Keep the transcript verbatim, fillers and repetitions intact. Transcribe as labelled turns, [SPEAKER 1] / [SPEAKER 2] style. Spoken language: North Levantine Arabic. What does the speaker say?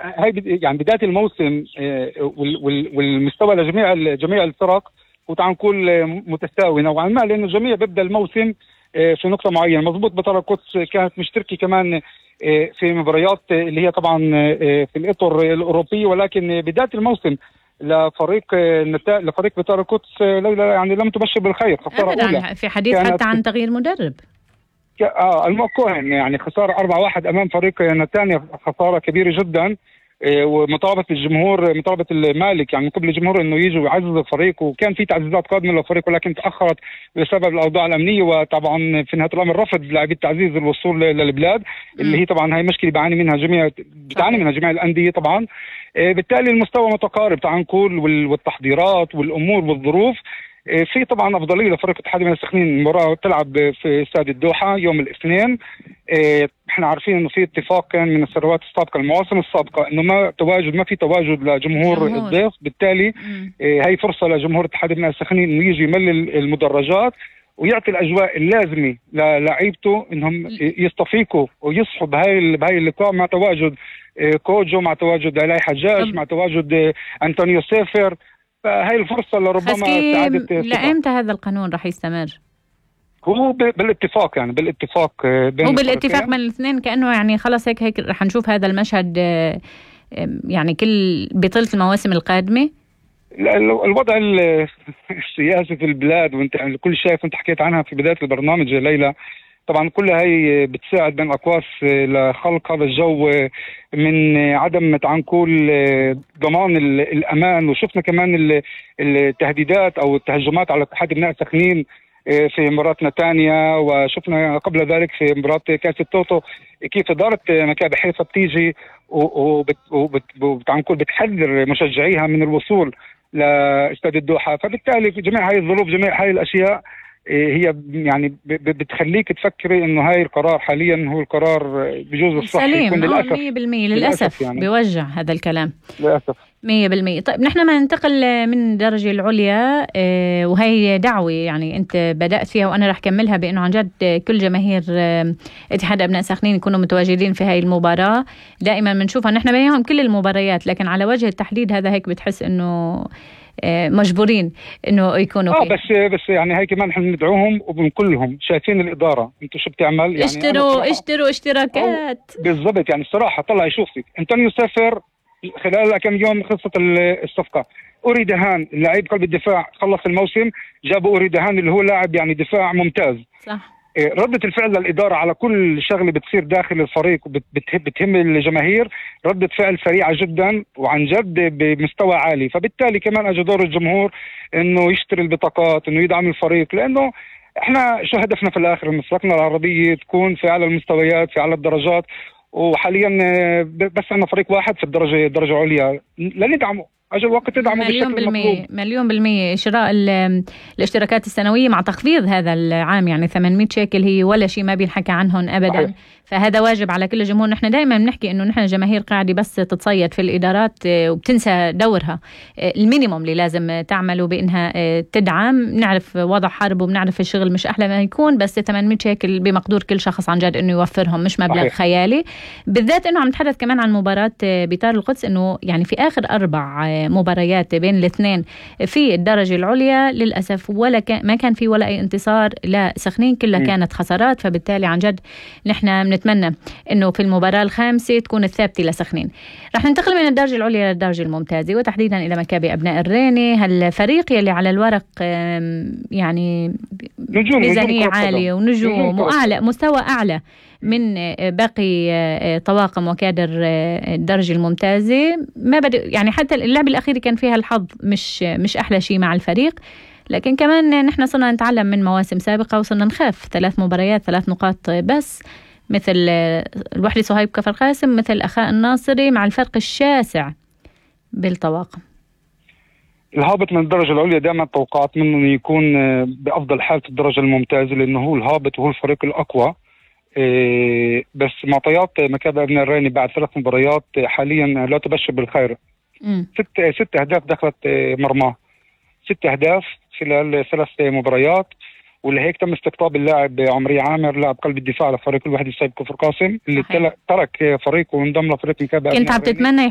[SPEAKER 1] هاي يعني بداية الموسم والمستوى لجميع جميع الفرق وتعال نقول متساوي نوعا ما، لأنه الجميع بيبدأ الموسم في نقطة معينة. مضبوط بطل القدس كانت مشتركة كمان في مباريات اللي هي طبعا في الإطر الأوروبي، ولكن بداية الموسم لفريق نتا... لفريق بطل القدس ليلى يعني لم تبشر بالخير. خسارة أولى
[SPEAKER 2] في حديث حتى عن تغيير مدرب.
[SPEAKER 1] اه الموكوهن يعني خسارة أربعة واحد أمام فريق نتانيا، خسارة كبيرة جدا. إيه ومطالبة الجمهور، مطالبة المالك يعني من قبل الجمهور إنه يجوا يعززوا الفريق، وكان في تعزيزات قادمة للفريق ولكن تأخرت بسبب الأوضاع الأمنية، وطبعا في نهاية الأمر رفض لاعبي التعزيز الوصول للبلاد اللي هي طبعا هاي مشكلة بيعاني منها جميع بتعاني منها جميع الأندية طبعا. إيه بالتالي المستوى متقارب تعال نقول، والتحضيرات والأمور والظروف. في طبعا افضليه لفريق اتحاد من السخنين. المباراه تلعب في استاد الدوحه يوم الاثنين. احنا عارفين انه في اتفاق كان من السنوات السابقه المواسم السابقه انه ما تواجد ما في تواجد لجمهور الضيف، بالتالي هي فرصه لجمهور اتحاد من السخنين انه يجي يملل المدرجات ويعطي الاجواء اللازمه للاعيبته انهم يستفيقوا ويصحوا بهاي بهاي اللقاء مع تواجد كوجو، مع تواجد علاء حجاج، مع تواجد انطونيو سيفر. فهي الفرصة لربما
[SPEAKER 2] سعادة. لأمتى هذا القانون رح يستمر؟
[SPEAKER 1] هو بالاتفاق يعني بالاتفاق
[SPEAKER 2] بين هو بالاتفاق من الاثنين، كأنه يعني خلص هيك هيك رح نشوف هذا المشهد يعني كل بطولة المواسم القادمة.
[SPEAKER 1] الوضع السياسي في البلاد وانت يعني كل شيء كنت حكيت عنها في بداية البرنامج يا ليلى، طبعا كلها هي بتساعد بين الأقواس لخلق هذا الجو من عدم تعال نقول ضمان الأمان. وشفنا كمان التهديدات أو التهجمات على اتحاد ابناء سخنين في مباراة نتانيا، وشفنا قبل ذلك في مباراة كأس التوتو كيف إدارة مكابي حيفا بتيجي وبتعال نقول بتحذر مشجعيها من الوصول لاستاد الدوحة. فبالتالي جميع هاي الظروف جميع هاي الأشياء هي يعني بتخليك تفكري انه هاي القرار حاليا هو القرار بجوز الصحي يكون للاسف
[SPEAKER 2] مية بالمية للاسف يعني بيوجع هذا الكلام
[SPEAKER 1] للاسف
[SPEAKER 2] مية بالمية. طيب نحن ما ننتقل من الدرجة العليا، اه وهي دعوة يعني انت بدأت فيها وانا رح كملها بانه عن جد كل جماهير اه اتحاد ابناء سخنين يكونوا متواجدين في هاي المباراة. دائما بنشوفها نحن بينهم كل المباريات، لكن على وجه التحديد هذا هيك بتحس انه مجبورين انه يكونوا
[SPEAKER 1] اه بس بس يعني هاي كمان احنا بندعوهم وبنقول لهم شايفين الاداره انتوا شو بتعمل يعني
[SPEAKER 2] اشتروا اشتروا اشتراكات
[SPEAKER 1] بالضبط. يعني الصراحه طلع يشوفك انطونيو سافر خلال كم يوم خلصت الصفقه. أوري دهان اللاعب قلب الدفاع خلص الموسم، جابوا أوري دهان اللي هو لاعب يعني دفاع ممتاز.
[SPEAKER 2] صح.
[SPEAKER 1] ردة الفعل للإدارة على كل شغلة بتصير داخل الفريق وبتهم الجماهير ردة فعل سريعة جدا وعن جد بمستوى عالي. فبالتالي كمان أجى دور الجمهور إنه يشتري البطاقات، إنه يدعم الفريق، لأنه إحنا شو هدفنا في الآخر مسرقنا العربية تكون في أعلى المستويات في أعلى الدرجات. وحاليا بس عندنا فريق واحد في الدرجة الدرجة العليا لندعمه، أجل وقت تدعمه
[SPEAKER 2] مليون بالمية مليون بالمية. شراء الاشتراكات السنوية مع تخفيض هذا العام يعني ثمانمية شيكل هي ولا شيء ولا بينحكى عنهم أبدا. صحيح. فهذا واجب على كل الجمهور. نحن دائما بنحكي إنه نحن جماهير قاعدة بس تتصيد في الإدارات وبتنسى دورها المينيموم اللي لازم تعمله بإنها تدعم. نعرف وضع حرب وبنعرف الشغل مش أحلى ما يكون، بس ثمانمية شيكل بمقدور كل شخص عن جد إنه يوفرهم، مش مبلغ. صحيح. خيالي بالذات إنه عم نتحدث كمان عن مباراة بطار القدس، إنه يعني في آخر أربع مباريات بين الاثنين في الدرجة العليا للأسف ولا كان ما كان في ولا أي انتصار لسخنين، كلها م. كانت خسارات. فبالتالي عن جد نحن نتمنى إنه في المباراة الخامسة تكون الثابتة لسخنين. رح ننتقل من الدرجة العليا للدرجة الممتازة وتحديدا إلى مكابي أبناء الريني، هالفريق يلي على الورق يعني ميزانية عالية ونجوم وأعلى مستوى أعلى من باقي طواقم وكادر الدرجة الممتازة. ما بدأ يعني حتى اللعبة الأخيرة كان فيها الحظ مش مش أحلى شيء مع الفريق، لكن كمان نحن صرنا نتعلم من مواسم سابقة وصرنا نخاف. ثلاث مباريات ثلاث نقاط بس، مثل الوحدة صهيب كفر قاسم، مثل أخاء الناصري، مع الفرق الشاسع بالطواقم.
[SPEAKER 1] الهابط من الدرجة العليا دائما توقعات منه يكون بأفضل حال في الدرجة الممتازة لأنه هو الهابط وهو الفريق الأقوى. إيه بس معطيات مكابي أبناء الريني بعد ثلاث مباريات حاليا لا تبشر بالخير. م. ست ست أهداف دخلت مرماه، ست أهداف خلال ثلاث مباريات. واللي هيك تم استقطاب اللاعب عمري عامر لاعب قلب الدفاع لفريق الوحدة صهيب كفر قاسم اللي ترك فريقه وانضم لفريق مكابي.
[SPEAKER 2] كنت عم تتمنى